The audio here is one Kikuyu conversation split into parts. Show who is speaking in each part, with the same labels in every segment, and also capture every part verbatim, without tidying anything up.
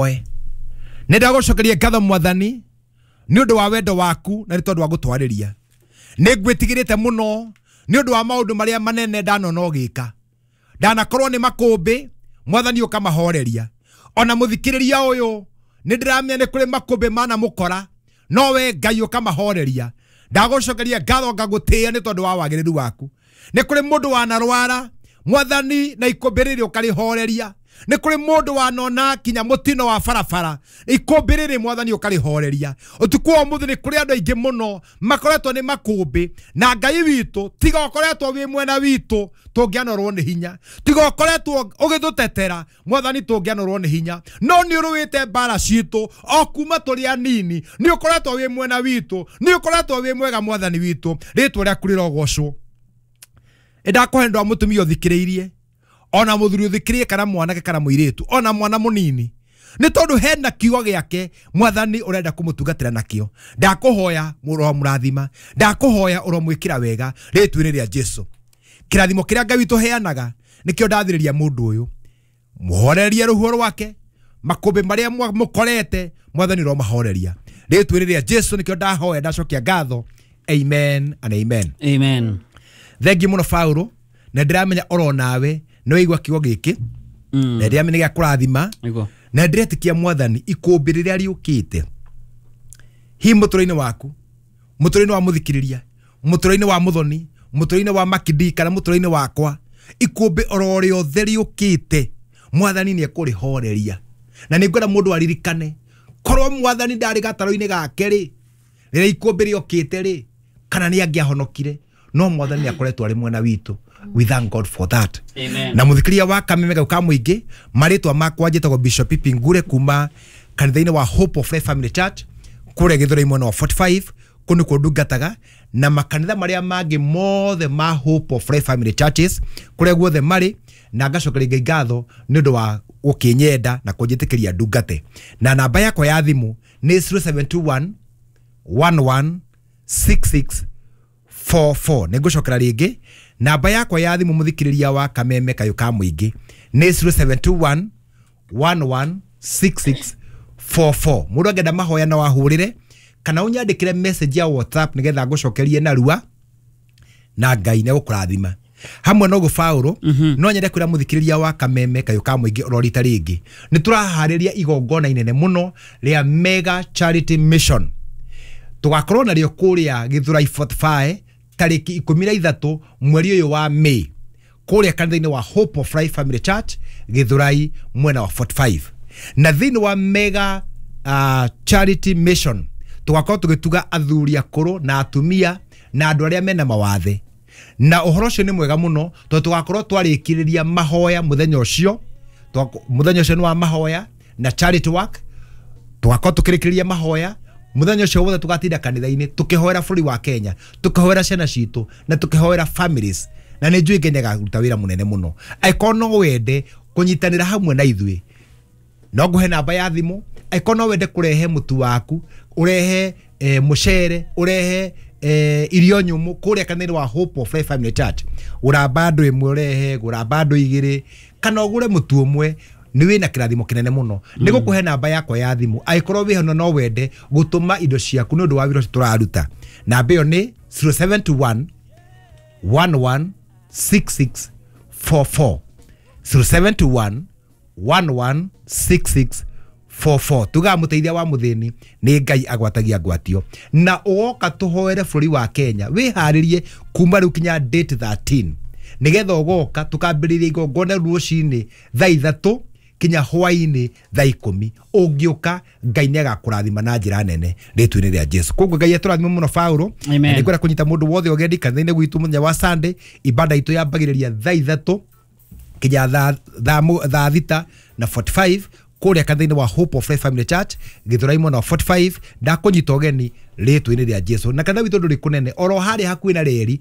Speaker 1: Nĩ ndagũcokeria ngatho Mwathani nĩ ũndũ wa wendo waku na nĩ tondũ wa gũtwarĩria. Nĩ ngwĩtigĩrĩte mũno nĩ ũndũ wa maũndũ marĩa manene ndanona ũgĩka. Ndanakorwo nĩ makũmbĩ, Mwathani ũkamahoreria. Ona mũthikĩrĩria ũyũ nĩ ndĩramenya nĩ kũrĩ makũmbĩ manamũkora, no we Ngai ũkamahoreria. Ndagũcokeria ngatho ngagũtĩĩa nĩ tondũ wa wagĩrĩru waku. Nĩ kũrĩ mũndũ wanarwara, Mwathani na ikũmbĩ rĩrĩ ũkarĩhoreria. Nĩ kũrĩ mũndũ wanona kinya mũtino wa barabara, ikũmbĩ rĩrĩ Mwathani ũkarĩhoreria. Ũtukũ wa ũmũthĩ nĩ kũrĩ andũ aingĩ mũno makoretwo nĩ makũmbĩ, na Ngai witũ tiga ũkoretwo wĩ mwena witũ tũngĩanorwo nĩ hinya, tiga ũkoretwo ũgĩtũtetera Mwathani tũngĩanorwo nĩ hinya. No nĩ ũrũĩte mbara citũ o kuma tũrĩ anini, nĩ ũkoretwo wĩ mwena witũ, nĩ ũkoretwo wĩ mwega Mwathani witũ, rĩtwa rĩaku rĩrogocwo. Ndakũhe ndwa mũtumia ũthikĩrĩirie, ona mũthuri ũthikĩrĩrie, kana mwanake kana mũirĩtu, ona mwana mũnini, nĩ tondũ hena kiugo gĩake Mwathani ũrenda kũmũtungatĩra nakĩo. Ndakũhoya ũromũrathima, ndakũhoya ũromwĩkĩra wega rĩtwa-inĩ rĩa Jesu. Kĩrathimo kĩrĩa Ngai witũ heanaga nĩkĩo ndathĩrĩria mũndũ ũyũ, mũhorerie rũhuho rwake, makũmbĩ marĩa mũkorete Mwathani ũromahoreria rĩtwa-inĩ rĩa Jesu. Nĩkĩo ndahoya, ndacokia ngatho. Amen and amen.
Speaker 2: Amen.
Speaker 1: Thengi mũno Paulo, na ndĩramenya oro nawe nĩ waigua kiugo gĩkĩ, na ndĩramenya gĩa kũrathima, na ndĩretĩkia Mwathani ikũmbĩ rĩrĩa rĩũkĩte hi mũtũrĩre-inĩ waku, mũtũrĩre-inĩ wa mũthikĩrĩria, mũtũrĩre-inĩ wa mũthoni, mũtũrĩre-inĩ wa makindi, kana mũtũrĩre-inĩ wakwa, ikũmbĩ oro rĩothe rĩũkĩte Mwathani nĩ ekũrĩhoreria. Na nĩ ngwenda mũndũ aririkane, korwo Mwathani ndarĩ gatarũ-inĩ gake rĩ, rĩrĩa ikũmbĩ rĩokĩte rĩ, kana nĩ angĩahonokire, no Mwathani akoretwo arĩ mwena witũ. We thank God for that.
Speaker 2: Amen.
Speaker 1: Na mũthikĩrĩria wa Kameme gau ka mũingĩ, marĩtwa makwa njĩtagwo Bishop Pipi Ngure kuma kanitha-inĩ wa Hope of Life Family Church kũrĩa Gĩthũrai mwena wa forty-five, kũu nĩkuo ndungataga, na makanitha marĩa mangĩ mothe ma Hope of Life Family Churches kũrĩa guothe marĩ, na ngacokeria Ngai ngatho nĩ ũndũ wa gũkĩnyenda na kũnjĩtĩkĩria ndungate. Na namba yakwa ya thimũ nĩ zero seven two one, one one six six four four. Nĩ ngũcokera rĩngĩ, namba yakwa ya thimũ mũthikĩrĩria wa Kameme kayũ ka mũingĩ nĩ zero seven two one, one one six six four four. Mũndũ angĩenda mahoya no ahũrĩre kana ũnyandĩkĩre message ya WhatsApp nĩgetha ngũcokerie narua, na Ngai nĩ egũkũrathima. Hamwe na ũguo Paulo, no nyende kwĩra mũthikĩrĩria wa Kameme kayũ ka mũingĩ oro rita rĩngĩ, nĩ tũraharĩria igongona inene mũno rĩa Mega Charity Mission. Tũgakorwo narĩo kũrĩa Gĩthũrai forty-five tarĩki ikũmi na ithatũ mweri ũyũ wa May, kũrĩa kanitha-inĩ wa Hope of Life Family Church Gĩthũrai mwena wa forty-five. Na thĩinĩ wa Mega uh, Charity Mission tũgakorwo tũgĩtuga athuri akũrũ na atumia na andũ arĩa mena mawathe. Na ũhoro ũcio nĩ mwega mũno tondũ tũgakorwo twarĩkĩrĩria mahoya mũthenya ũcio. Mũthenya ũcio nĩ wa mahoya na charity work. Tũgakorwo tũkĩrĩkĩrĩria mahoya mũthenya ũcio wothe, tũgatinda kanitha-inĩ tũkĩhoera bũrũri wa Kenya, tũkĩhoera ciana citũ na tũkĩhoera families. Na nĩ njũĩ Ngai nĩagaruta wĩra mũnene mũno. Angĩkorwo no wende kũnyitanĩra hamwe na ithuĩ, no ngũhe namba ya thimũ. Angĩkorwo no wende kũrehe mũtu waku, ũrehe eh, mũcere, ũrehe eh, irio nyũmũ kũrĩa kanitha-inĩ wa Hope of Life Family Church, gũra bando ĩmwe ũrehe, gũra bando igĩrĩ, kana ũgũre mũtu ũmwe, nĩ wĩna kĩrathimo kĩnene mũno. Nĩ gũkũhe namba yakwa ya thimũ angĩkorwo wĩ hano no wende gũtũma indo ciaku nĩ ũndũ wa wĩra ũcio tũraruta. Namba ĩyo nĩ zero seven two one, one one six six four four. zero seven two one, one one six six four four. Tugaga mũteithia wa mũthĩni nĩ Ngai agwatagia ngwatio. Na ũgoka tũhoere bũrũri wa Kenya, wĩharĩrie kuma rĩu kinya date thirteen, nĩgetha ũgoka tũkambĩrĩria igongona rũcinĩ thaa ithatũ kinya hwainĩ thaa ikũmi. Ũngĩũka Ngai nĩ agakũrathima na njĩra nene rĩtwa-inĩ rĩa Jesu. Koguo Ngai atũrathime mũno Paulo.
Speaker 2: Amen.
Speaker 1: Na nĩngwenda kũnyita mũndũ wothe ũgendi kanitha-inĩ gwitũ mũthenya wa Sunday. Ibada itũ yambagĩrĩria thaa ithatũ kinya thaa, thaa mũ-, thaa thita na forty-five kũrĩa kanitha-inĩ wa Hope of Life Family Church Gĩthũrai mwena wa forty-five. Ndakũnyita ũgeni rĩtwa-inĩ rĩa Jesu. Na kanitha witũ ndũrĩ kũnene, oro harĩa hakuhĩ na reri,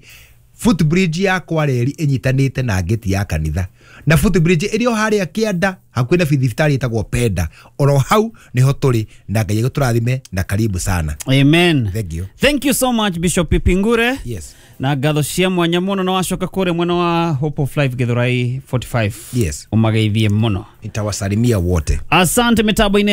Speaker 1: footbridge ya kwa reri ĩnyitanĩte na ngĩti ya kanitha, na footbridge ĩrĩ o harĩa kĩanda hakuhĩ na thibitarĩ ĩtagwo Penda, oro hau nĩho tũrĩ. Na Ngai agũtũrathime na karibu sana.
Speaker 2: Amen.
Speaker 1: Thank you.
Speaker 2: Thank you so much Bishop Pipi Ngure.
Speaker 1: Yes.
Speaker 2: Na ngatho cia mwanya muno, na wacoka kũrĩa mwena wa Hope of Life Githurai mĩrongo ĩna na ithano.
Speaker 1: Yes.
Speaker 2: Ũmageithie mũno.
Speaker 1: Nitawasalimia wote.
Speaker 2: Asante. Mitambo-inĩ.